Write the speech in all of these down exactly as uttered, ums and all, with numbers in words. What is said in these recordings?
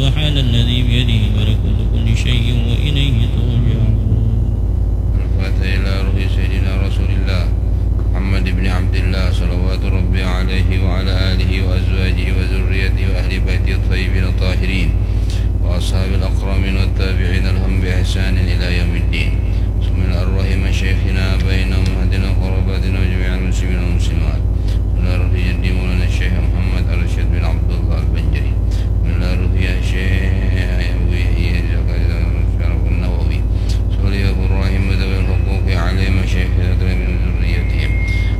سبحان الذي بيده ملكوت كل شيء وإليه ترجعون. الفاتحة إلى روح سيدنا رسول الله محمد بن عبد الله، صلوات ربي عليه وعلى آله وأزواجه وذريته وأهل بيته الطيبين الطاهرين وأصحاب الأكرمين والتابعين لهم بإحسان إلى يوم الدين. بسم الله الرحمن الرحيم. شيخنا بينهم وأمهاتنا وقراباتنا وجميع المسلمين والمسلمات. بسم الله الرحمن الرحيم. مولانا الشيخ محمد الرشيد بن عبد الله البنجري. بسم الله الرحمن الرحيم. شيخ أبي زكريا الشرف النووي. صلي أبو الرحيم وذوي الحقوق عليهم وشيخ من ذريتهم.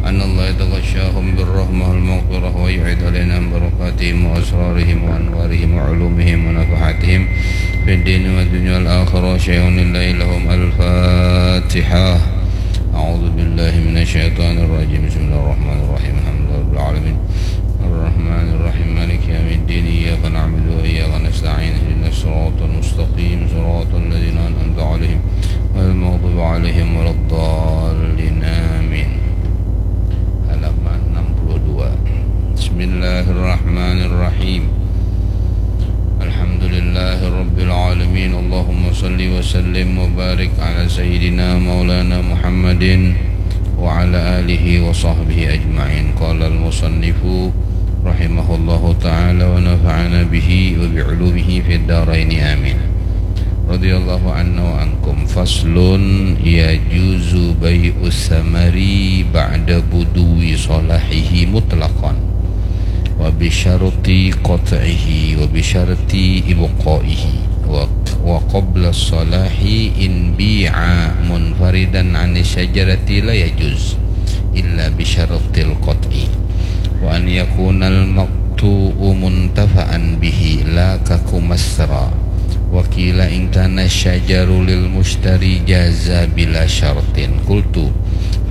أن الله يتغشاهم بالرحمة والمغفرة ويعيد علينا من بركاتهم وأسرارهم وأنوارهم وعلومهم ونفحاتهم في الدين والدنيا والآخرة. شيء لله لهم. الفاتحة. أعوذ بالله من الشيطان الرجيم. بسم الله الرحمن الرحيم. الحمد لله رب العالمين. الرحمن الرحيم. مالك يوم الدين. إياك نعبد وإياك نستعين. اهدنا الصراط المستقيم. صراط الذين أنعمت عليهم غير المغضوب عليهم ولا الضالين. آمين. Halaman enam puluh dua. Bismillahirrahmanirrahim. Alhamdulillahirabbil alamin. Allahumma salli wa sallim wa barik ala sayyidina maulana Muhammadin wa ala alihi wa sahbihi ajma'in. Qala al-musannifu rahimahullahu ta'ala wa nafa'ana bihi wa bi ulumihi fid daraini, amin. Radhiyallahu anna wa ankum. Faslun. Yajuzu bai'us samari ba'da buduwi salahihi mutlaqan wa bi syarti qat'ihi wa bi syarti ibqaihi wa, wa qabla salahi. In bi'a munfaridan 'ani syajarati la yajuz illa bi syartil qat'i wa an yakunal maqtu'u muntafa'an bihi la kakumasra. Wa qila in kana syajaru lil mushtari jaza bila syartin. Qultu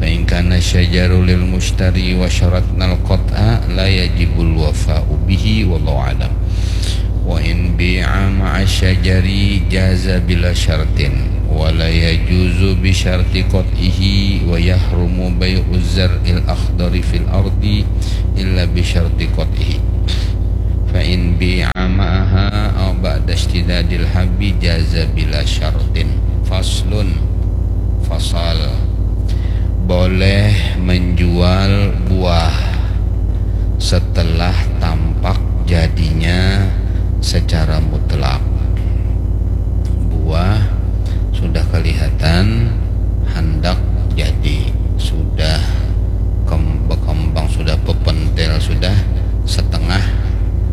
fa in kana syajaru lil mushtari wa syaratnal qat'a la yajibul wafa'u bihi, wallahu a'lam. Wa in bi'a ma'a syajari jaza bila syartin wa la yajuzu bi syarti qat'ihi wa yahrumu bai'uz zar'il akhdari fil ardi illa bi syarti qat'ihi. Fa in bi'a ma'aha aw ba'da ishtidadil habbi jaza bila syartin. Faslun. Fasal. Boleh menjual buah setelah tampak jadinya secara mutlak. Buah sudah kelihatan hendak jadi, sudah kem-, berkembang, sudah bepentil, sudah setengah,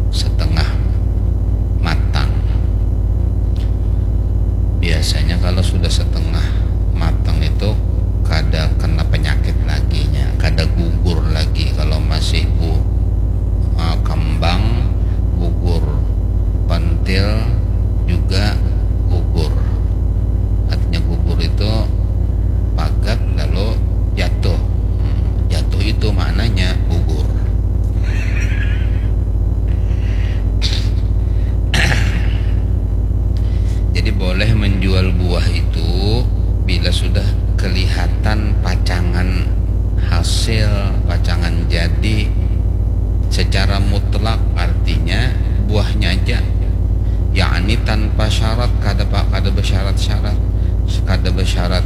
setengah matang. Biasanya kalau sudah setengah matang itu kada kena penyakit lagi nya, kada gugur lagi. Kalau masih bu-, eh, kembang, gugur, pentil juga gugur. Artinya gugur itu pagat lalu jatuh. Hmm, jatuh itu maknanya gugur. Jadi boleh menjual buah itu bila sudah kelihatan pacangan hasil, pacangan jadi secara mutlak, artinya buahnya aja, yakni tanpa syarat, kada pa-, kada bersyarat-syarat, kada bersyarat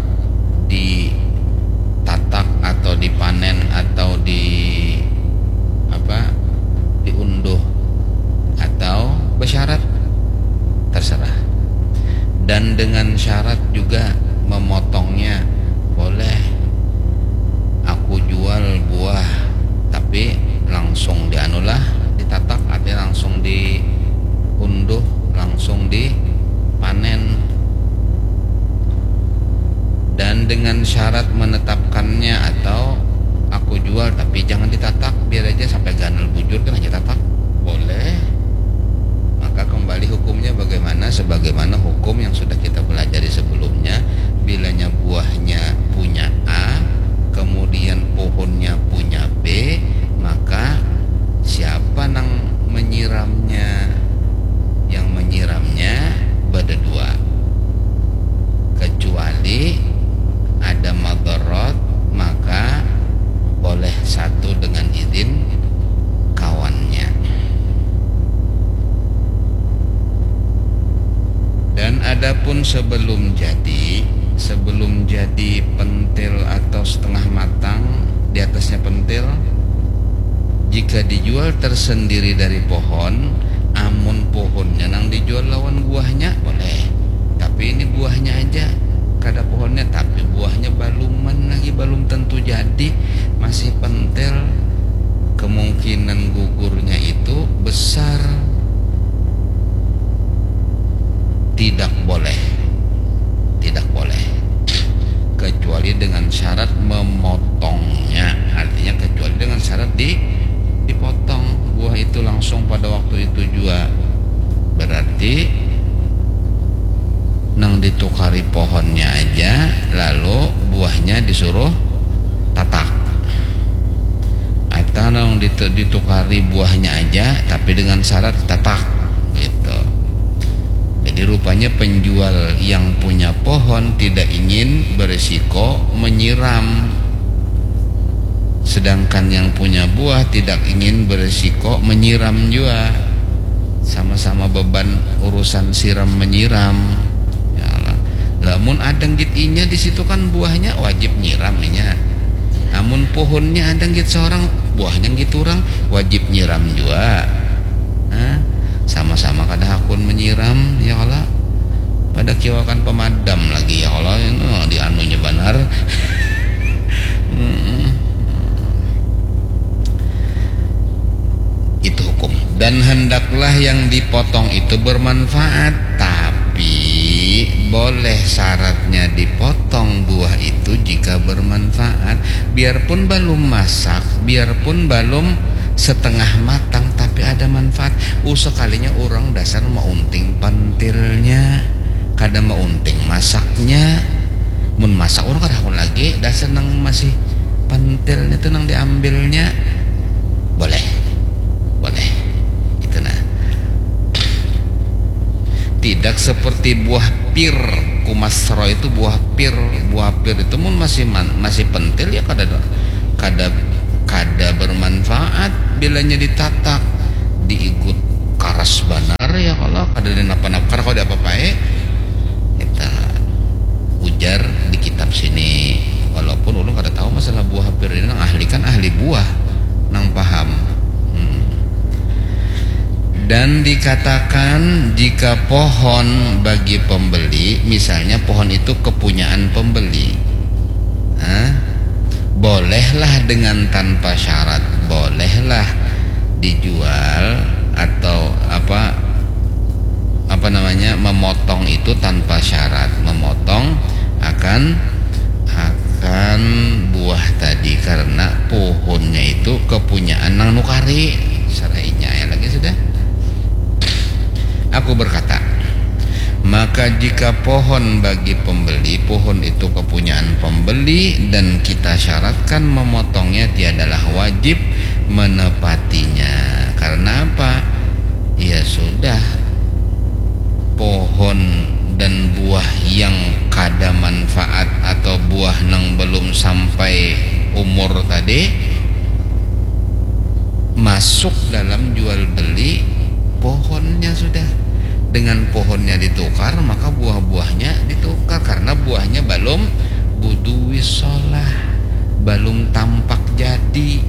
ditatak atau dipanen atau di apa, diunduh atau bersyarat, terserah. Dan dengan syarat juga memotongnya boleh. Aku jual buah, tapi langsung dianulah, ditatak, artinya langsung diunduh, langsung dipanen. Dan dengan syarat menetapkannya, atau aku jual tapi jangan ditatak, biar aja sampai ganal bujur kan aja tatak, boleh. Maka kembali hukumnya bagaimana? Sebagaimana hukum yang sudah kita pelajari sebelumnya, bilanya buahnya punya A, kemudian pohonnya punya B, maka siapa nang menyiramnya? Yang menyiramnya berdua, kecuali ada mad-, Dan adapun sebelum jadi, sebelum jadi pentil atau setengah matang, di atasnya pentil, jika dijual tersendiri dari pohon, amun pohonnya nang dijual lawan buahnya, boleh. Tapi ini buahnya aja, kada pohonnya, tapi buahnya baluman lagi, balum tentu jadi, masih pentil, kemungkinan gugurnya itu besar. Tidak boleh. Tidak boleh. Kecuali dengan syarat memotongnya. Artinya kecuali dengan syarat di dipotong buah itu langsung pada waktu itu jua. Berarti nang ditukari pohonnya aja, lalu buahnya disuruh tatak. Atau nang ditu- ditukari buahnya aja, tapi dengan syarat tatak, gitu. Jadi rupanya penjual yang punya pohon tidak ingin berisiko menyiram, sedangkan yang punya buah tidak ingin berisiko menyiram jua. Sama-sama beban urusan siram menyiram. Ya Allah. Lamun ada nggit inya di situ kan buahnya wajib nyiram inya. Amun pohonnya ada nggit seorang, buahnya nggit orang, wajib nyiram jua. Nah, sama-sama kada hakun menyiram, ya Allah. Pada kiwakan pemadam lagi, ya Allah, ini di anunya banar. Mm-mm. Itu hukum. Dan hendaklah yang dipotong itu bermanfaat, tapi boleh syaratnya dipotong buah itu jika bermanfaat. Biarpun belum masak, biarpun belum setengah matang, tapi ada manfaat. Uh, sekalinya orang dasar maunting pentilnya, kada maunting masaknya. Mun masak orang kada hakun lagi, dasar nang masih pentilnya tuh nang diambilnya. Boleh. Boleh. Itu nah. Tidak seperti buah pir, kumasro itu buah pir. Buah pir itu mun masih man, masih pentil ya kada, kada, kada bermanfaat bilanya ditatak, diigut karas banar ya, kalau kada dinapa-napa, kada kalau diapa-apai. Kita ujar di kitab sini, walaupun ulun kada tahu masalah buah pir ini, nang ahli kan ahli buah, nang paham. Hmm. Dan dikatakan jika pohon bagi pembeli, misalnya pohon itu kepunyaan pembeli, nah, bolehlah dengan tanpa syarat, bolehlah dijual atau apa, apa namanya, memotong itu tanpa syarat, memotong akan akan buah tadi karena pohonnya itu kepunyaan nang nukari. Sarainya ya lagi sudah. Aku berkata, maka jika pohon bagi pembeli, pohon itu kepunyaan pembeli dan kita syaratkan memotongnya, tiadalah wajib menepatinya. Karena apa? Ya sudah, pohon dan buah yang kada manfaat atau buah nang belum sampai umur tadi masuk dalam jual beli pohonnya sudah. Dengan pohonnya ditukar, maka buah-buahnya ditukar karena buahnya belum buduwi solah, belum tampak jadi.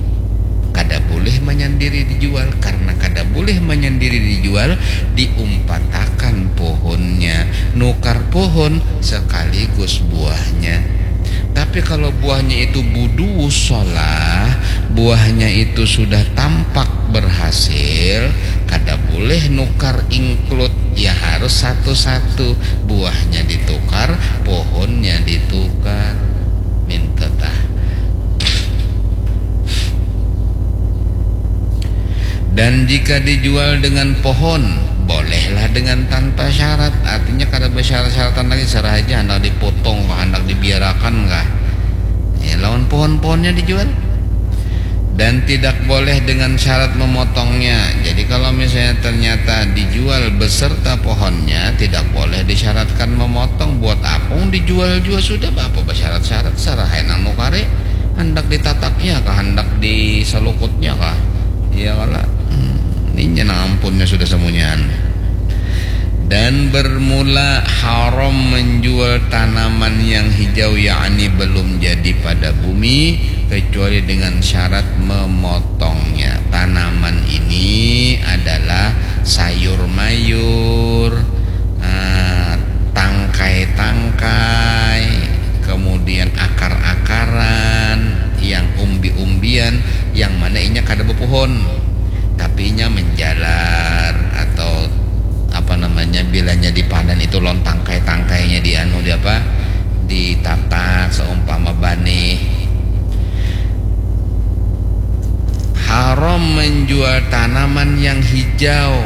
Kada boleh menyendiri dijual, karena kada boleh menyendiri dijual, diumpatakan pohonnya, nukar pohon sekaligus buahnya. Tapi kalau buahnya itu budu solah, buahnya itu sudah tampak berhasil, kada boleh nukar include, ya harus satu-satu, buahnya ditukar, pohonnya ditukar. Minta tah. Dan jika dijual dengan pohon, bolehlah dengan tanpa syarat. Artinya kada bersyarat-syaratan lagi, serah aja hendak dipotong kah, hendak dibiarakan kah. Ya, lawan pohon-pohonnya dijual. Dan tidak boleh dengan syarat memotongnya. Jadi kalau misalnya ternyata dijual beserta pohonnya, tidak boleh disyaratkan memotong. Buat apa dijual juga sudah, apa bersyarat-syarat, serah nang nukari. Hendak ditataknya kah, hendak diselukutnya kah? Iya kala. Hmm, ini nang ampunnya sudah semuanya. Dan Dan bermula haram menjual tanaman yang hijau, yakni belum jadi pada bumi, kecuali dengan syarat memotongnya. Tanaman ini adalah sayur mayur, ah, tangkai-tangkai, kemudian akar-akaran, yang umbi-umbian, yang mana inya kada bepohon, tapi inya menjalar atau apa namanya, bilanya dipanen itu lawan tangkai-tangkainya di anu, di apa, ditatak seumpama banih. Haram menjual tanaman yang hijau,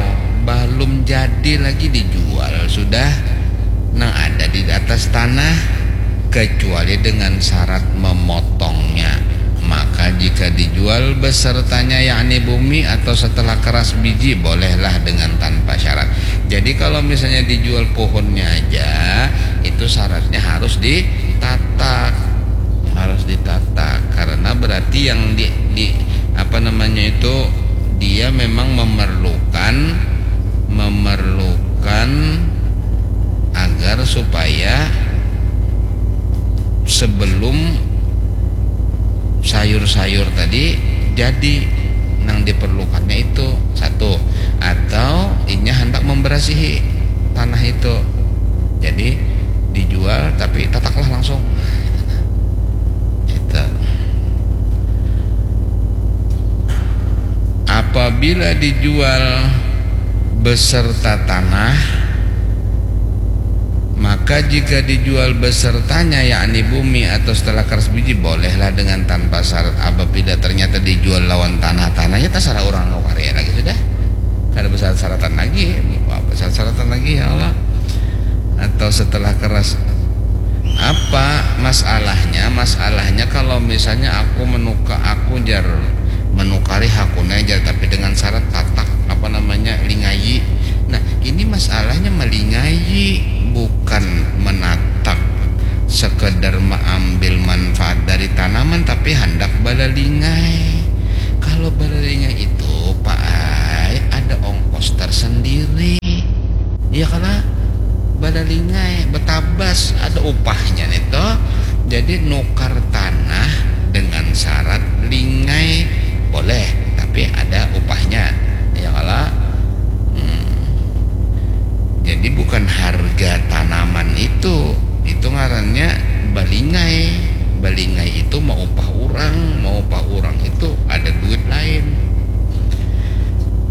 belum jadi lagi dijual sudah, nang ada di atas tanah, kecuali dengan syarat memotongnya. Maka jika dijual besertanya, yakni bumi atau setelah keras biji, bolehlah dengan tanpa syarat. Jadi kalau misalnya dijual pohonnya aja, itu syaratnya harus ditatak, harus ditatak, karena berarti yang di, di apa namanya itu, dia memang memerlukan, memerlukan agar supaya sebelum sayur-sayur tadi jadi, nang diperlukannya itu satu, atau inya hendak memberasihi tanah itu, jadi dijual tapi tataklah langsung. Itu. Apabila dijual beserta tanah, maka jika dijual besertanya, yakni bumi atau setelah keras biji, bolehlah dengan tanpa syarat. Apabila ternyata dijual lawan tanah, tanahnya terserah orang nukar ya lagi sudah. Kada bersyarat-syaratan lagi, apa syarat-syaratan lagi, ya Allah. Atau setelah keras. Apa masalahnya? Masalahnya kalau misalnya aku menuka, aku jar menukari hakuna jar, tapi dengan syarat tatak, apa namanya, lingayi. Nah, ini masalahnya melingayi, bukan menatak sekedar mengambil manfaat dari tanaman, tapi hendak balalingai. Kalau balalingai itu, Pak ai, ada ongkos tersendiri. Iya kala? Balalingai, betabas, ada upahnya nih toh. Jadi nukar tanah dengan syarat lingai boleh, tapi ada upahnya. Iya kala? Hmm. Jadi bukan harga tanaman itu, itu ngarannya balingai. Balingai itu maupah urang, maupah urang itu ada duit lain.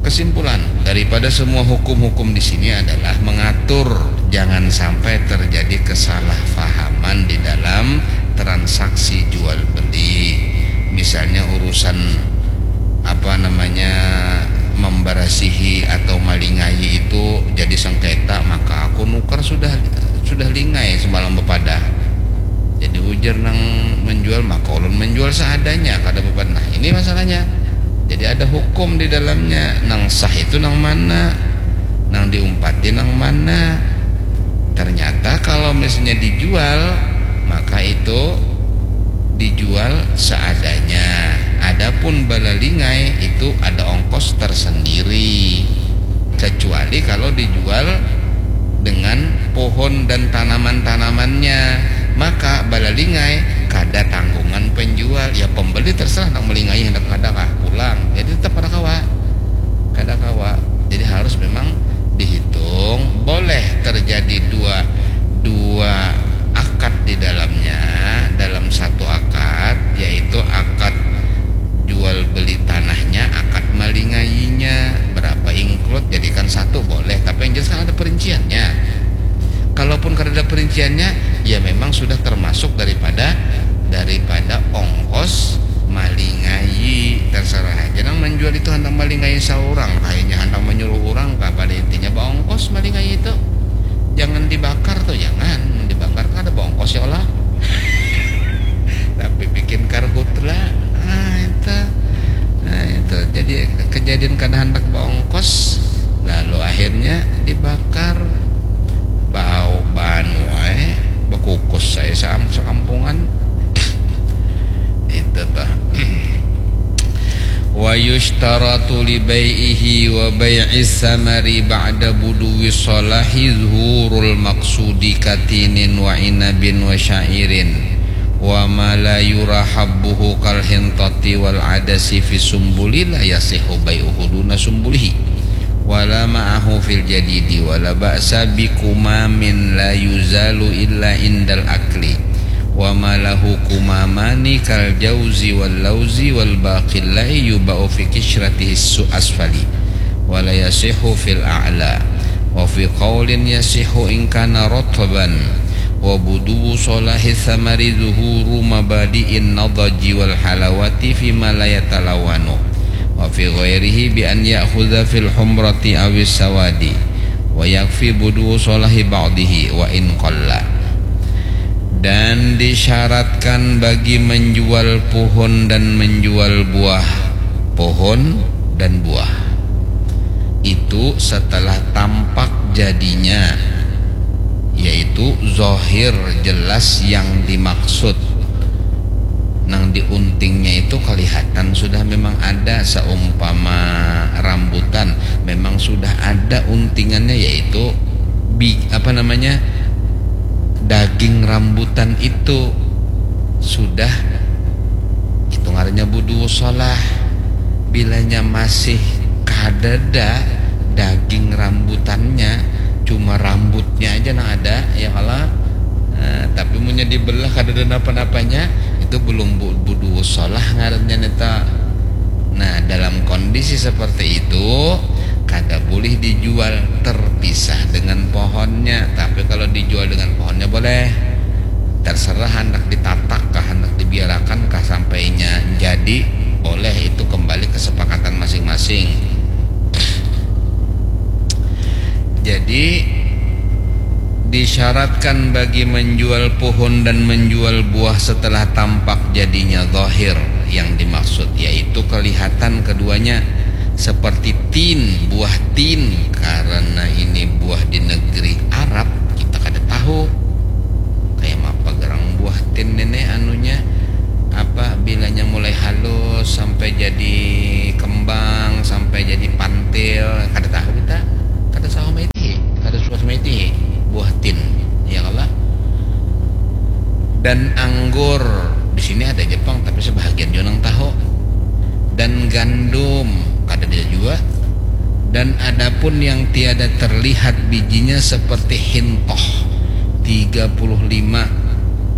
Kesimpulan daripada semua hukum-hukum di sini adalah mengatur jangan sampai terjadi kesalahpahaman di dalam transaksi jual beli. Misalnya urusan, apa namanya, memberasihi atau malingai itu jadi sengketa, maka aku nukar sudah, sudah lingai semalam bepadah. Jadi ujar nang menjual, maka ulun menjual seadanya, kada bepadah. Nah, ini masalahnya. Jadi ada hukum di dalamnya. Nang sah itu nang mana? Nang diumpati nang mana? Ternyata kalau misalnya dijual, maka itu dijual seadanya. Adapun balalingai itu ada ongkos tersendiri. Kecuali kalau dijual dengan pohon dan tanaman-tanamannya, maka balalingai kada tanggungan penjual. Ya, pembeli terserah nak melingai hendak kada kah, pulang. Jadi tetap kada kawa. Kada kawa. Jadi harus memang dihitung, boleh terjadi dua, dua akad di dalamnya, dalam satu akad, yaitu akad jual beli tanahnya, akad malingainya, berapa include, jadikan satu boleh, tapi yang jelas kan ada perinciannya. Kalaupun kada ada perinciannya, ya memang sudah termasuk daripada, daripada ongkos malingai. Terserah aja nang menjual itu hendak malingai seorang, kayaknya hendak menyuruh orang kah, pada intinya baongkos malingai itu. Jangan dibakar tuh, jangan. Mun dibakar kan ada baongkos ya Allah. Tapi bikin karhutla. Nah, itu. Nah, itu jadi kejadian kada hendak baongkos, lalu akhirnya dibakar. Bau banu ai, bekukus saya saam-, sekampungan. Itu tuh. Wa yush-, Syaratu li bai'ihi wa bai'is samari ba'da buduwi sholahi zuhurul maqsudi katinin wa inabin wa sya'irin wa ma la yura habbuhu kal hintati wal adasi fi sumbuli la yasihu bai'uhu duna sumbulihi wala ma'ahu fil jadidi wala ba'sa bi kumamin la yuzalu illa indal akli wa ma lahu kumamani kal jauzi wal lauzi wal baqillai yuba'u fi kisyratihi su asfali wala yasihu fil a'la wa fi qaulin yasihu ingkana rotban wa buduwu solahi samari zuhuru mabadi'in nadaji wal halawati fima la yatalawanu wa fi ghairihi bi an ya'khudha fil humrati awis sawadi wa yakfi buduwu solahi ba'dihi wa in qalla. Dan disyaratkan bagi menjual pohon dan menjual buah pohon dan buah itu setelah tampak jadinya, yaitu zahir jelas yang dimaksud. Nang di untingnya itu kelihatan sudah memang ada, seumpama rambutan, memang sudah ada untingannya, yaitu bi apa namanya, daging rambutan itu sudah, itu ngarannya budu solah. Bilanya masih kadada daging rambutannya, cuma rambutnya aja nang ada, ya kalo. Nah, tapi munnya dibelah kadada napa-napanya, itu belum bu- budu solah ngarannya neta. Nah, dalam kondisi seperti itu, kada boleh dijual terpisah dengan pohonnya. Tapi kalau dijual dengan pohonnya boleh. Terserah hendak ditatak kah, hendak dibiarakan kah sampainya jadi, boleh, itu kembali kesepakatan masing-masing. Jadi disyaratkan bagi menjual pohon dan menjual buah setelah tampak jadinya zahir yang dimaksud, yaitu kelihatan keduanya seperti tin, buah tin, karena ini buah di negeri Arab, kita kada tahu kayak apa gerang buah tin ini anunya, apa bilanya mulai halus sampai jadi kembang, sampai jadi pantil, kada tahu kita, kada sama itu, kada suas itu buah tin, ya Allah. Dan anggur di sini ada Jepang, tapi sebahagian juga nang tahu. Dan gandum kada ada juga. Dan adapun yang tiada terlihat bijinya seperti hintoh tiga puluh lima.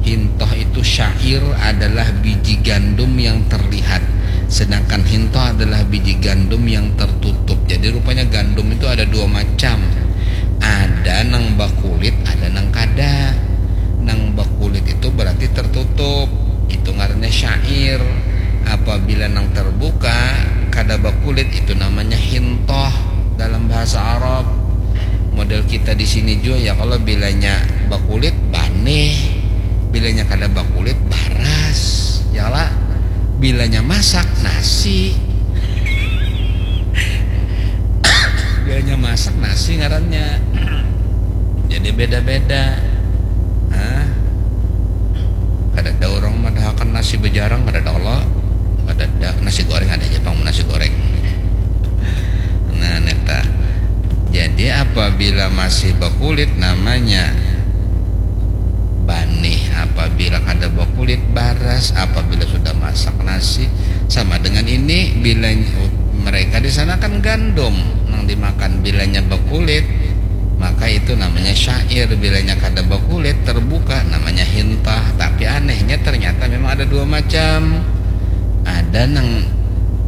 Hintoh itu syair adalah biji gandum yang terlihat, sedangkan hintoh adalah biji gandum yang tertutup. Jadi rupanya gandum itu ada dua macam, ada nang bakulit, ada nang kada. Nang bakulit itu berarti tertutup, itu ngarannya syair. Apabila nang terbuka, kada bakulit, itu namanya hintoh dalam bahasa Arab. Model kita di sini juga ya, kalau bilanya bakulit banih, bilanya kada bakulit baras, ya lah. Bilanya masak nasi, bilanya masak nasi ngarannya. Jadi beda-beda. Hah? Kada ada orang madahakan nasi bejarang, kada ada Allah. Kada ada nasi goreng, ada aja pang nasi goreng. Nah, neta. Jadi apabila masih bakulit namanya banih, apabila kada bakulit baras, apabila sudah masak nasi sama dengan ini, bila mereka di sana kan gandum nang dimakan, bilanya bakulit maka itu namanya syair, bilanya kada bakulit terbuka namanya hintah. Tapi anehnya ternyata memang ada dua macam. Ada nang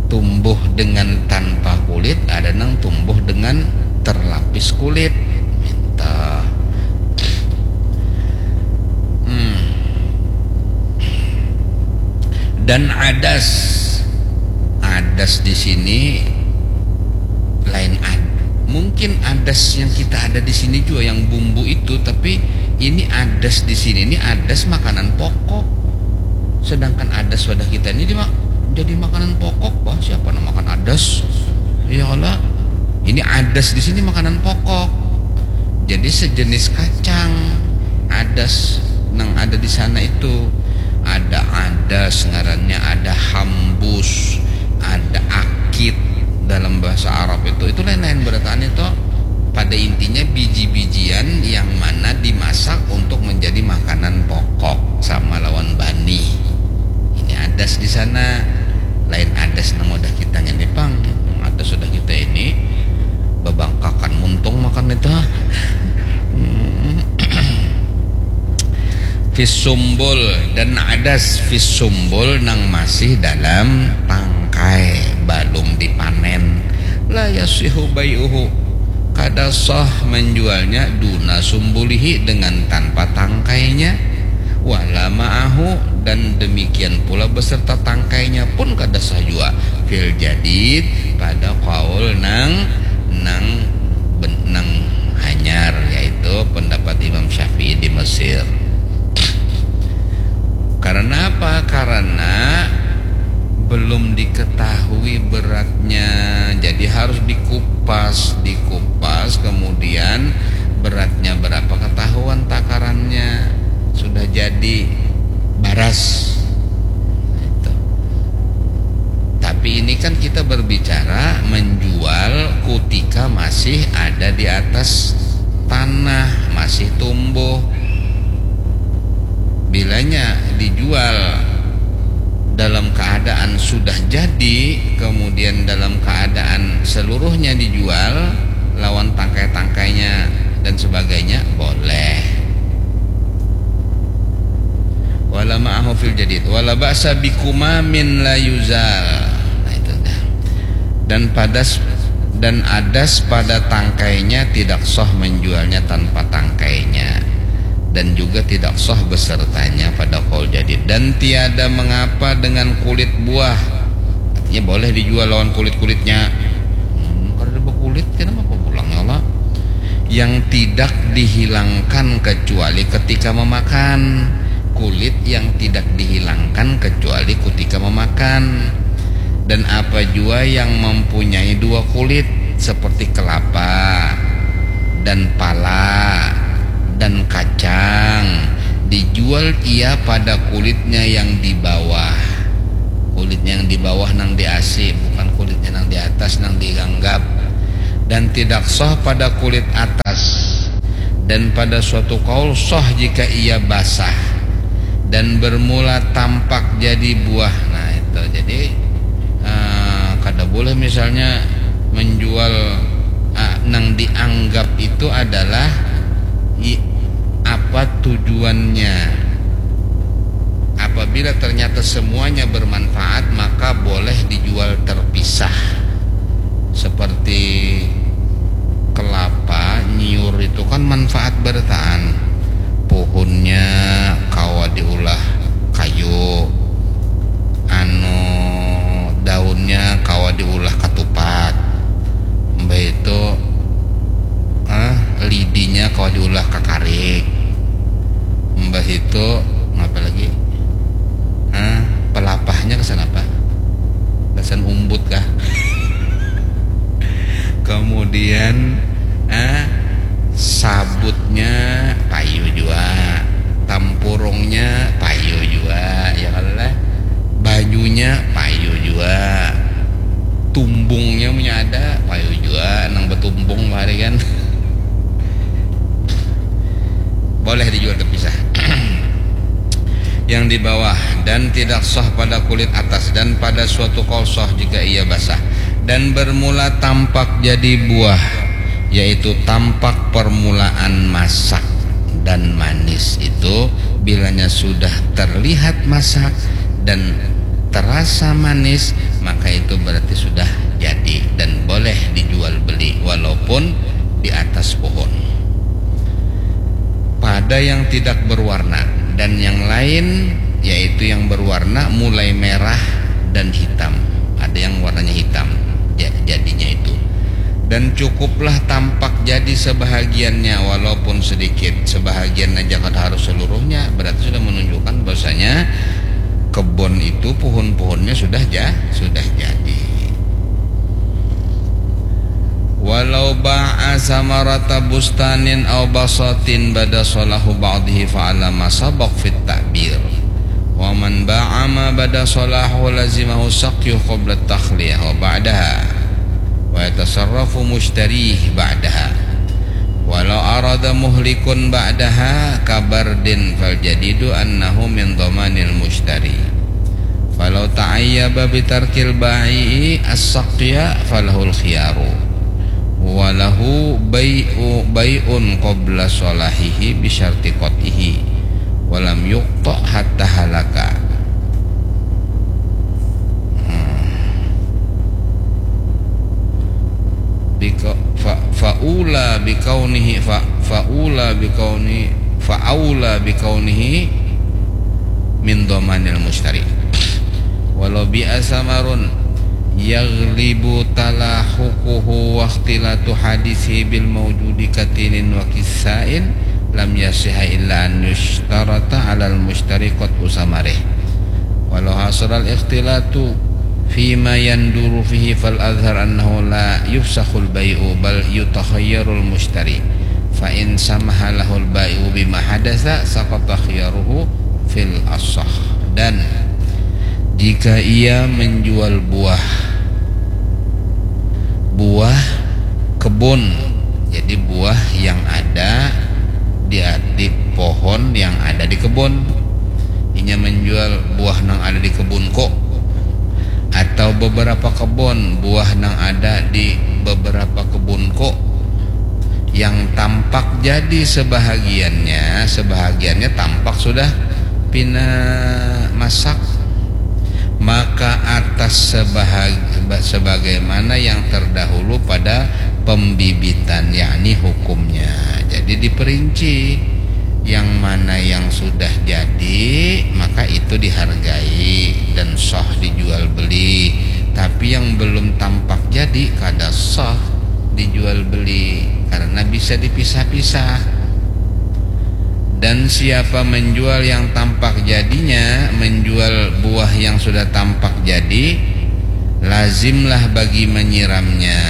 tumbuh dengan tanpa kulit, ada nang tumbuh dengan terlapis kulit. Minta. Hmm. Dan adas. Adas di sini lain ad. Mungkin adas yang kita ada di sini juga yang bumbu itu, tapi ini adas di sini ini adas makanan pokok. Sedangkan adas wadah kita ini dima- jadi makanan pokok, bah, siapa nang makan adas? Ya Allah. Ini adas di sini makanan pokok. Jadi sejenis kacang adas nang ada di sana itu. Ada adas ngarannya, ada hambus, ada akit, dalam bahasa Arab itu, itu lain-lain berataan itu. Pada intinya biji-bijian yang mana dimasak untuk menjadi makanan pokok sama lawan bani. Ini adas di sana, lain adas nang udah kita ini pang. Adas sudah kita ini bebangkakan muntung makan itu. Hmm. Fis sumbul, dan adas fis sumbul nang masih dalam tangkai, balum dipanen. La yasihu bai'uhu, kada sah menjualnya duna sumbulihi, dengan tanpa tangkainya. Wala ma'ahu, dan demikian pula beserta tangkainya pun kada sah jua. Fil jadid, pada kaul nang nang ben- nang hanyar, yaitu pendapat Imam Syafi'i di Mesir. Karena apa? Karena belum diketahui beratnya, jadi harus dikupas, dikupas, kemudian beratnya berapa ketahuan takarannya. Sudah jadi baras. Itu. Tapi ini kan kita berbicara menjual kutika masih ada di atas tanah, masih tumbuh. Bilanya dijual dalam keadaan sudah jadi, kemudian dalam keadaan seluruhnya dijual, lawan tangkai-tangkainya dan sebagainya, boleh. Wala ma'ahu fil jadid. Wala ba'sa bikumamin la yuzal. Nah, itu dah. Dan padas dan adas pada tangkainya tidak sah menjualnya tanpa tangkainya, dan juga tidak sah besertanya pada kaul jadid. Dan tiada mengapa dengan kulit buah, artinya boleh dijual lawan kulit-kulitnya. Hmm, kada ada bakulit, kenapa pulang ya Allah? Yang tidak dihilangkan kecuali ketika memakan. Kulit yang tidak dihilangkan kecuali ketika memakan. Dan apa jua yang mempunyai dua kulit, seperti kelapa dan pala dan kacang, dijual ia pada kulitnya yang di bawah. Kulitnya yang di bawah nang di asi, bukan kulitnya nang di atas nang dianggap. Dan tidak sah pada kulit atas. Dan pada suatu kaul sah jika ia basah dan bermula tampak jadi buah. Nah, itu. Jadi, eh, kada boleh misalnya menjual, eh, nang dianggap itu adalah i- apa tujuannya. Apabila ternyata semuanya bermanfaat, maka boleh dijual terpisah. Seperti kelapa, nyiur itu kan manfaat berataan. Pohonnya kawa diulah kayu, anu, daunnya kawa diulah katupat, mbah itu, ah, lidinya kawa diulah kakarik, mbah itu, apa lagi, ah, pelapahnya kesan apa? Kesan umbut kah? Kemudian, ah, sabutnya payu jua, tampurungnya payu jua, ya kalo lah. Banyunya payu jua, tumbungnya punya ada payu jua, nang betumbung bahari kan. Boleh dijual terpisah. Yang di bawah, dan tidak sah pada kulit atas, dan pada suatu kaul sah jika ia basah dan bermula tampak jadi buah, yaitu tampak permulaan masak dan manis itu. Bilanya sudah terlihat masak dan terasa manis, maka itu berarti sudah jadi dan boleh dijual beli walaupun di atas pohon. Pada yang tidak berwarna, dan yang lain, yaitu yang berwarna mulai merah dan hitam. Ada yang warnanya hitam, ja- jadinya itu. Dan cukuplah tampak jadi sebahagiannya, walaupun sedikit. Sebahagian aja, kada harus seluruhnya. Berarti sudah menunjukkan bahwasanya kebun itu, pohon-pohonnya sudah ja- sudah jadi. Walau ba'a samarata bustanin au basatin bada salahu ba'dihi fa'ala ma sabaq fit ta'bir. Wa man ba'a ma bada salahu lazimahu saqyu qabla takhliyah wa ba'daha. ويتصرف مشتريه بعدها ولو أراد مهلك بعدها كبرد فالجديد أنه من ضمان المشتري فلو تعيب بترك البائع السقي فله الخيار وله بيع بيع قبل صلاحه بشرط قطعه ولم يقطع حتى هلك Bika, fa, faula bikaunihi fa, faula bikauni faula bikaunihi min dhamanil mushtari. Walau bi'a samarun yaghlibu talahuquhu wa ikhtilatu hadisihi bil maujudi katinin wa kissain lam yasiha illa an yushtarata alal mushtari qat'u samarih. Walau hasaral ikhtilatu fima yanduru fihi fal azhar annahu la yufsakhul bai'u bal yutakhayyarul mushtari fa in samaha lahul bai'u bima hadasa saqata khiyaruhu fil asah. Dan jika ia menjual buah buah kebun, jadi buah yang ada di, di pohon yang ada di kebun. Inya menjual buah nang ada di kebun kok, atau beberapa kebun buah nang ada di beberapa kebun kok yang tampak jadi sebahagiannya, sebahagiannya tampak sudah pina masak, maka atas sebahag, sebagaimana yang terdahulu pada pembibitan, yakni hukumnya. Jadi diperinci yang mana yang sudah jadi, maka itu dihargai dan sah dijual beli. Tapi yang belum tampak jadi kada sah dijual beli karena bisa dipisah-pisah. Dan siapa menjual yang tampak jadinya, menjual buah yang sudah tampak jadi, lazimlah bagi menyiramnya.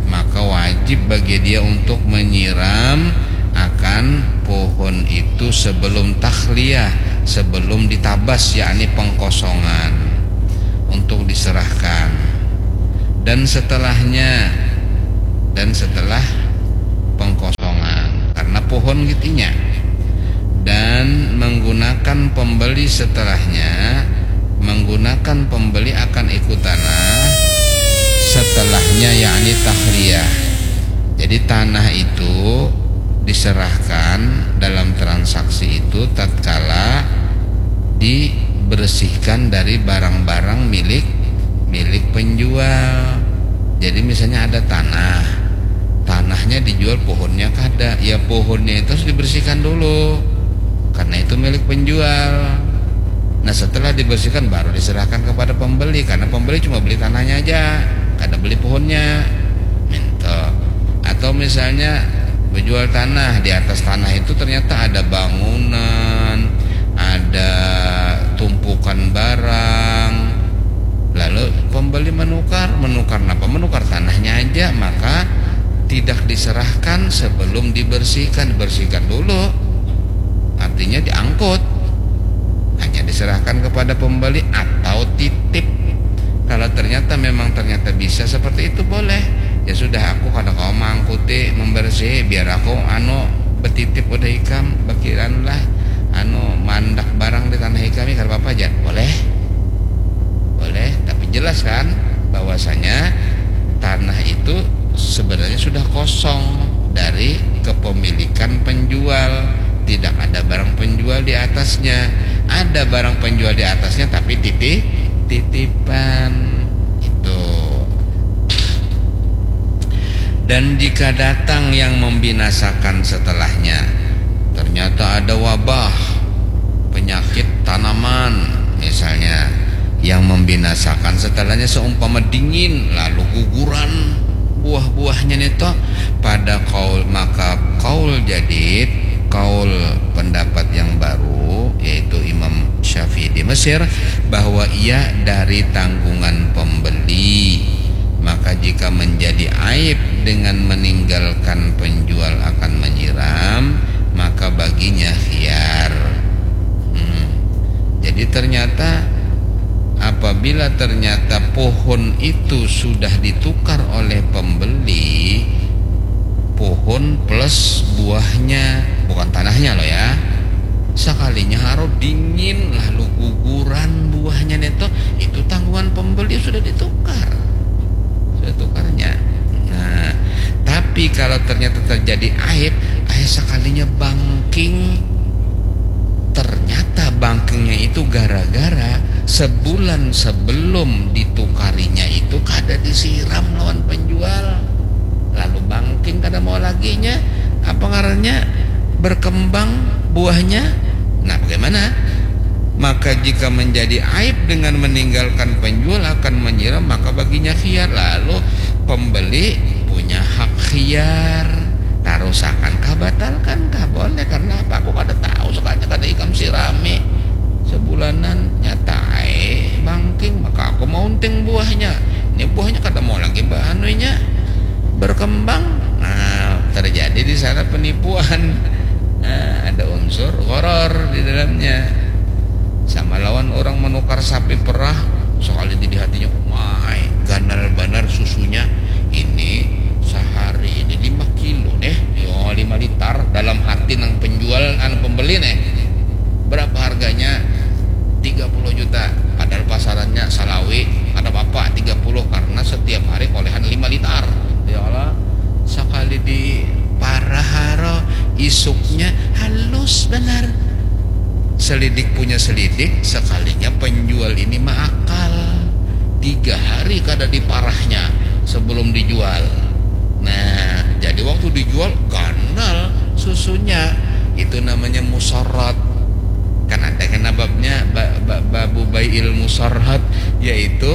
Maka wajib bagi dia untuk menyiram akan pohon itu sebelum takhliyah, sebelum ditabas, yakni pengkosongan, untuk diserahkan. Dan setelahnya, dan setelah pengkosongan karena pohon gitinya, dan menggunakan pembeli setelahnya, menggunakan pembeli akan ikut tanah setelahnya, yakni takhliyah. Jadi tanah itu diserahkan dalam transaksi itu tatkala dibersihkan dari barang-barang milik milik penjual. Jadi misalnya ada tanah, tanahnya dijual, pohonnya kada, ya pohonnya itu harus dibersihkan dulu karena itu milik penjual. Nah, setelah dibersihkan baru diserahkan kepada pembeli karena pembeli cuma beli tanahnya aja, kada beli pohonnya. Minta. Atau misalnya menjual tanah, di atas tanah itu ternyata ada bangunan, ada tumpukan barang. Lalu pembeli menukar, menukar apa? Menukar tanahnya aja, maka tidak diserahkan sebelum dibersihkan, dibersihkan dulu. Artinya diangkut. Hanya diserahkan kepada pembeli atau titip. Kalau ternyata memang ternyata bisa seperti itu, boleh. Ya sudah, aku kada kawa mangkuti membersih, biar aku anu betitip udah ikam, bakiran lah anu mandak barang di tanah ikam, ya kada apa-apa aja. Boleh. Boleh, tapi jelas kan bahwasanya tanah itu sebenarnya sudah kosong dari kepemilikan penjual. Tidak ada barang penjual di atasnya. Ada barang penjual di atasnya tapi titip titipan itu. Dan jika datang yang membinasakan setelahnya, ternyata ada wabah, penyakit tanaman misalnya, yang membinasakan setelahnya seumpama dingin lalu guguran buah-buahnya nito pada kaul, maka kaul jadid, kaul pendapat yang baru, yaitu Imam Syafi'i di Mesir, bahwa ia dari tanggungan pembeli. Maka jika menjadi aib dengan meninggalkan penjual akan menyiram, maka baginya khiyar. Hmm. Jadi ternyata apabila Bila ternyata pohon itu sudah ditukar oleh pembeli, pohon plus buahnya, bukan tanahnya loh ya, sekalinya haro dingin lalu guguran buahnya neto, itu tanggungan pembeli, sudah ditukar, sudah tukarnya. Nah, tapi kalau ternyata terjadi aib, ayah sekalinya bangking, ternyata bangkingnya itu gara-gara sebulan sebelum ditukarinya itu kada disiram lawan penjual, lalu bangking kada mau laginya, apa ngarannya, berkembang buahnya. Nah, bagaimana? Maka jika menjadi aib dengan meninggalkan penjual akan menyiram, maka baginya khiyar. Lalu pembeli punya hak khiyar, tarusakan kah, batalkan kah, boleh. Karena apa? Aku kada tahu, sekalinya kada ikam sirami sebulanan, nyata ai bangking, maka aku maunting buahnya. Ini buahnya kada mau lagi baanunya, berkembang. Nah, terjadi di sana penipuan. Nah, ada unsur gharar di dalamnya. Sama lawan orang menukar sapi perah, sekali di hatinya, "Umai, ganal banar susunya. Ini sehari ini lima kilo deh." Yo, lima liter dalam hati nang penjual, anu, pembeli nih. "Berapa harganya?" "Tiga puluh juta." Padahal pasarannya salawi, kada apa-apa, tiga puluh, karena setiap hari kolehan lima liter. Ya Allah, sekali di parah haro, isuknya halus banar. Selidik punya selidik, sekalinya penjual ini maakal. Tiga hari kada diparahnya sebelum dijual. Nah, jadi waktu dijual, ganal susunya. Itu namanya musarrat. Kan ada kan babnya, ba, ba, babu bai'il musarrat, yaitu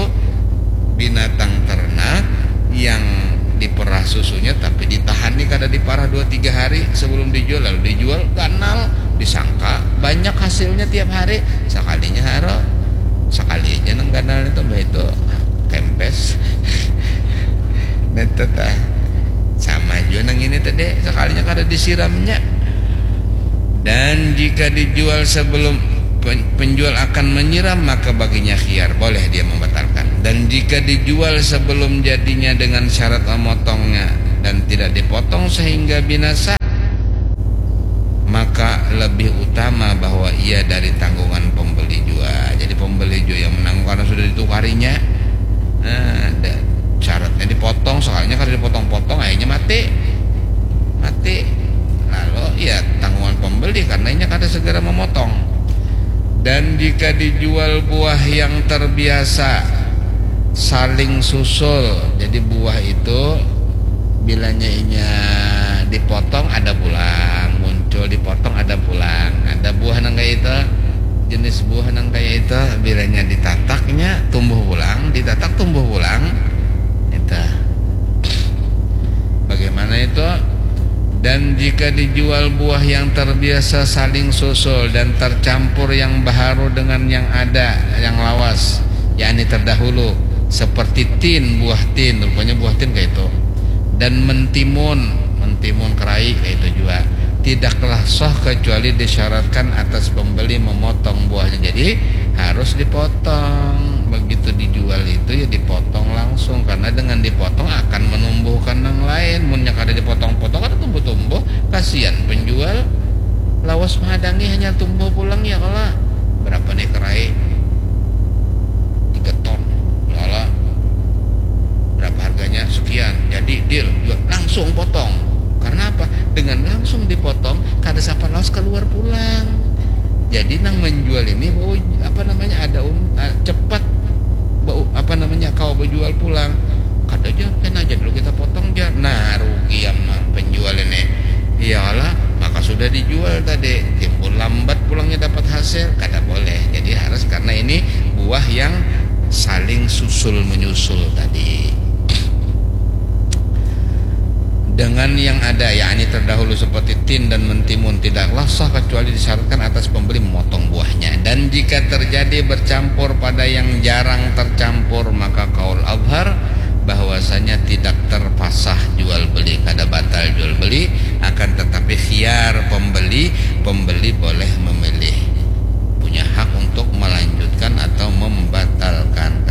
binatang ternak yang diperah susunya tapi ditahan nih, kada diparah dua tiga hari sebelum dijual, lalu dijual, ganal, disangka banyak hasilnya tiap hari, sekalinya haro, sekali aja nang ganal itu, bah itu kempes. Nah, itu tah. Sama jua nang ini tadi, sekalinya kada disiramnya. Dan jika dijual sebelum pen-, penjual akan menyiram, maka baginya khiyar, boleh dia membatalkan. Dan jika dijual sebelum jadinya dengan syarat memotongnya dan tidak dipotong sehingga binasa, maka lebih utama bahwa ia dari tanggungan pembeli jua. Jadi pembeli jua yang menanggung karena sudah ditukarinya. Nah, da-, syaratnya dipotong, soalnya kalau dipotong-potong, akhirnya mati. Mati. Lalu, ya, tanggungan pembeli karena inya kada segera memotong. Dan jika dijual buah yang terbiasa saling susul, jadi buah itu bilanya inya dipotong ada pulang, muncul, dipotong ada pulang. Ada buah nang kayak itu, jenis buah nang kayak itu, bilanya ditataknya tumbuh pulang, ditatak tumbuh pulang. Itu. Bagaimana itu? Dan jika dijual buah yang terbiasa saling susul dan tercampur yang baharu dengan yang ada, yang lawas, yakni terdahulu, seperti tin, buah tin, rupanya buah tin kayak itu, dan mentimun, mentimun kerai kayak itu juga, tidaklah sah kecuali disyaratkan atas pembeli memotong buahnya. Jadi harus dipotong. Begitu dijual itu, ya, dipotong langsung, karena dengan dipotong akan menumbuhkan nang lain. Munnya kada dipotong-potong, kada tumbuh-tumbuh. Kasihan penjual, lawas menghadangi, hanya tumbuh pulang, ya kalo. Berapa nih kerai? Tiga ton. Lala. Berapa harganya? Sekian. Jadi deal, jual. Langsung potong. Karena apa? Dengan langsung dipotong, kada sapan lawas keluar pulang. Jadi nang menjual ini, oh, apa namanya, ada um, ah, cepat, bau, apa namanya, kawa berjual pulang. Kada aja, kan aja dulu kita potong aja. Nah, rugi sama penjual ini. Iyalah, maka sudah dijual tadi, timbul lambat pulangnya dapat hasil, kada boleh. Jadi harus, karena ini buah yang saling susul menyusul tadi. Dengan yang ada, yakni terdahulu seperti tin dan mentimun, tidaklah sah kecuali disyaratkan atas pembeli memotong buahnya. Dan jika terjadi bercampur pada yang jarang tercampur, maka kaul azhar bahwasanya tidak terpasah jual beli, kada batal jual beli, akan tetapi khiyar pembeli, pembeli boleh memilih, punya hak untuk melanjutkan atau membatalkan.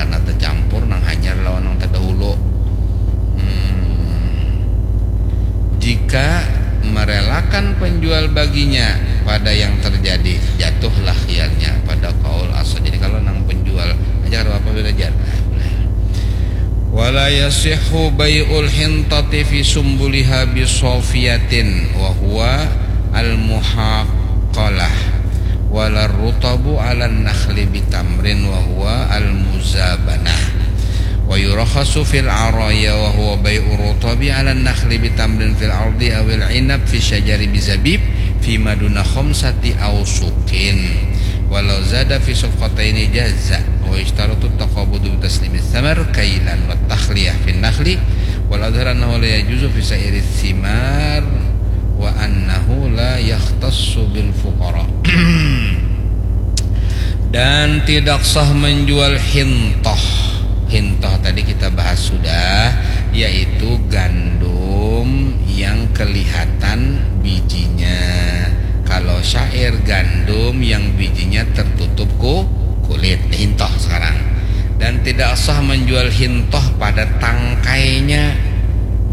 Jika merelakan penjual baginya pada yang terjadi, jatuhlah khiyarnya pada kaul asal. Jadi kalau nang penjual aja kada apa-apa sudah jar. Wala yasihhu bai'ul hintati fi sumbuliha bisofiyatin wa huwa al-muhaqalah wala rutabu ala nakhli bitamrin wa huwa al-muzabanah. Wa yurakhasu fil araya wa huwa bai'u rutabi ala nakhli bitamrin fil ardi awil inab fi syajari bizabib fi maduna khamsati awsukin. Walau zada fi safqataini jaza wa yushtaratu taqabudu taslimi thamar kailan wa takhliyah fi nakhli wal adhar annahu la yajuzu fi sairi thimar wa annahu la yakhtassu bil fuqara. Dan tidak sah menjual hintoh. Hintoh tadi kita bahas sudah, yaitu gandum yang kelihatan bijinya. Kalau syair, gandum yang bijinya tertutup ku kulit, hintoh sekarang. Dan tidak sah menjual hintoh pada tangkainya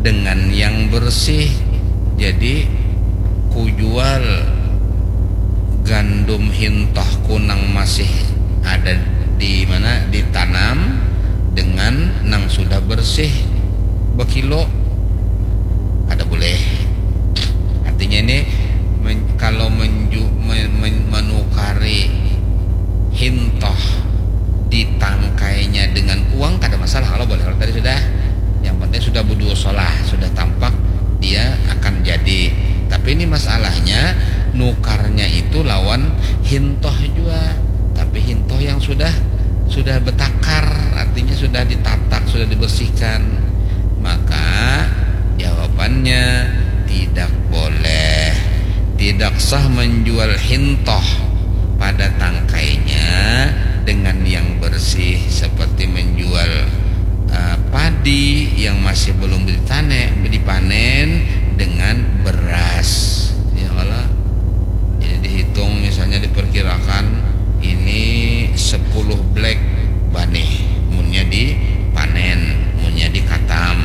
dengan yang bersih. Jadi kujual gandum hintoh ku nang masih ada di mana ditanam dengan nang sudah bersih bekilo, ada boleh. Artinya ini men, kalau menju, men, men, menukari hintoh di tangkainya dengan uang kada masalah kalau boleh. Kalau tadi sudah, yang penting sudah budu solah, sudah tampak dia akan jadi. Tapi ini masalahnya nukarnya itu lawan hintoh jua, tapi hintoh yang sudah sudah betakar, artinya sudah ditatak, sudah dibersihkan. Maka jawabannya tidak boleh. Tidak sah menjual hintoh pada tangkainya dengan yang bersih seperti menjual uh, padi yang masih belum ditane, dipanen dengan beras. Ya Allah. Jadi dihitung misalnya diperkirakan ini sepuluh black banih munnya dipanen, munnya dikatam.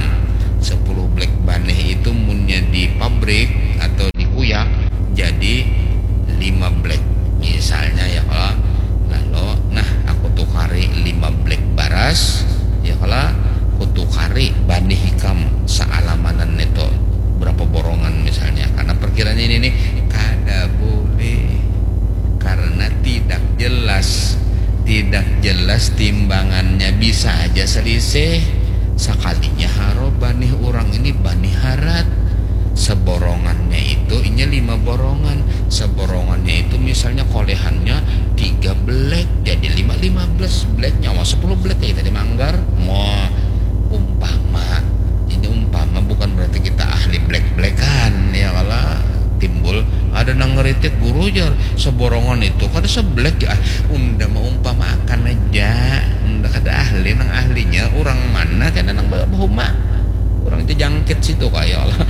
Sepuluh black banih itu munnya di pabrik atau dikuyak jadi lima black misalnya ya kalau lalu nah aku tukari lima black baras ya kalau aku tukari banih ikam sealamanan itu berapa borongan misalnya karena perkiranya ini nih kada boleh karena tidak jelas tidak jelas timbangannya bisa aja selisih sekalinya haro banih orang ini banih harat seborongannya itu inya lima borongan seborongannya itu misalnya kolehannya tiga black jadi lima lima belas black nyawa sepuluh black kayak tadi manggar mau umpama ini umpama bukan berarti kita ahli black blackan ya kalau timbul ada nang ngeritik guru jar seborongan itu kada sebelek ya unda maumpama akan aja unda kada ahli nang ahlinya orang mana kena nang bahuma orang itu jangkit situ kayak Allah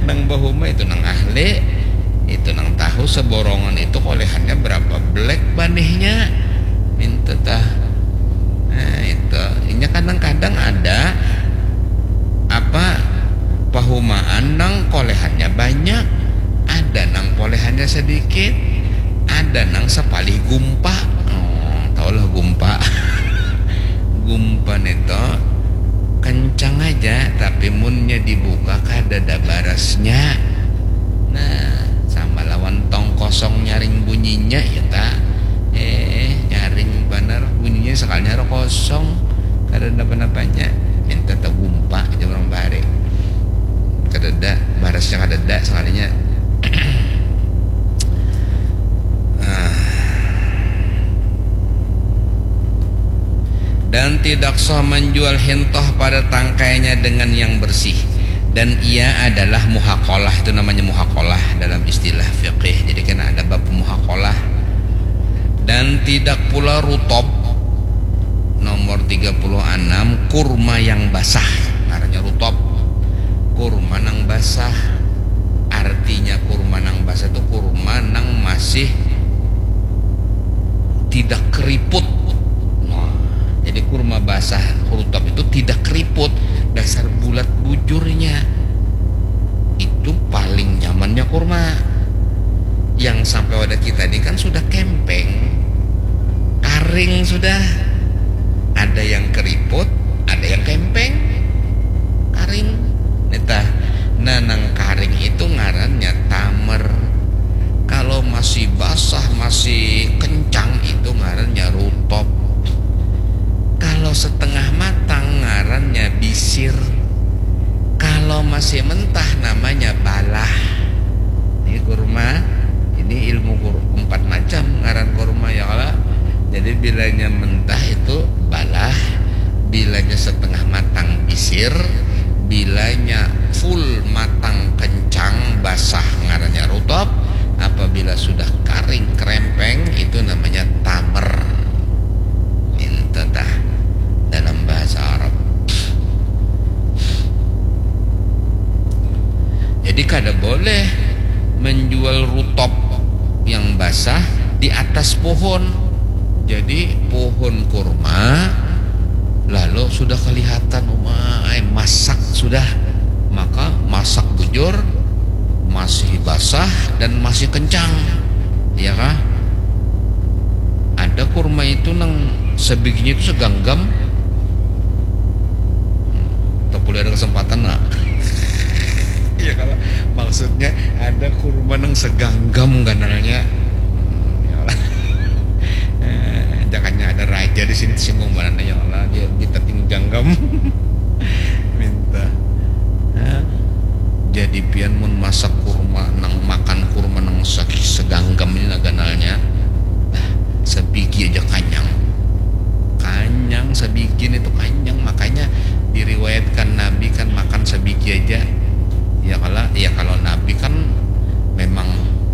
nang bahuma itu nang ahli itu nang tahu seborongan itu kolehannya berapa black banihnya minta tah nah itu inya kadang-kadang ada apa pahumaan nang kolehannya banyak ada nang kolehannya sedikit ada nang sepalih gumpa oh, tau lah gumpa gumpa neto kencang aja tapi munnya dibuka kada ada barasnya nah sama lawan tong kosong nyaring bunyinya ya ta eh nyaring banar bunyinya sekalinya ada kosong kada ada apa-apanya minta tegumpa aja orang bare kada ada barasnya kada ada sekalinya ah. Dan tidak sah menjual hintoh pada tangkainya dengan yang bersih dan ia adalah muhakolah itu namanya muhakolah dalam istilah fikih jadi kan ada bab muhakolah dan tidak pula rutob nomor tiga puluh enam kurma yang basah ngarannya rutob kurma nang basah artinya kurma nang basah itu kurma nang masih tidak keriput nah, jadi kurma basah rutob itu tidak keriput dasar bulat bujurnya itu pada kita ni kan sudah kempeng, karing sudah. Ada yang keriput, ada yang kempeng, karing. Nitah, nah, nang karing itu ngarannya tamer. Kalau masih basah, masih kencang, itu ngarannya rutop. Kalau setengah matang, ngarannya bisir. Kalau masih mentah, namanya balah. Ini kurma, ini ilmu kur-, empat macam ngaran kurma, ya kala. Jadi bilanya mentah itu balah, bilanya setengah matang bisir, bilanya full matang kencang basah ngarannya rutop, apabila sudah karing kerempeng itu namanya tamer. Minta tah dalam bahasa Arab. Jadi kada boleh menjual rutop yang basah di atas pohon. Jadi pohon kurma lalu sudah kelihatan, umai, masak sudah. Maka masak bujur, masih basah dan masih kencang. Iya kah? Ada kurma itu nang sebiginya itu seganggam. Tapi ada kesempatan lah. Iya, kalau maksudnya ada kurma nang seganggam ganalnya. Hmm, ya Allah. Eh, jangannya ada raja di sini tersinggung banana, ya Allah, dia minta tingganggam. Minta. Hah? Jadi pian mun masak kurma nang, makan kurma nang saki seganggam ini lah ganalnya. Dah, sabigi aja kanyang. Kanyang sabigi ini tuh kanyang, makanya diriwayatkan Nabi kan makan sabigi aja. Ya kalau, ya kalau Nabi kan memang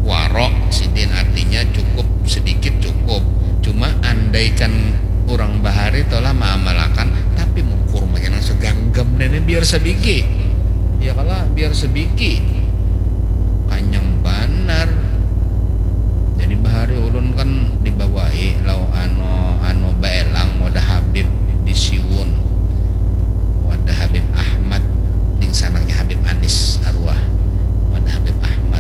warok sidin, artinya cukup sedikit cukup. Cuma andaikan orang bahari tolah maamalakan, tapi mun kurma nang seganggam ini biar sabigi. Ya kalau biar sabigi.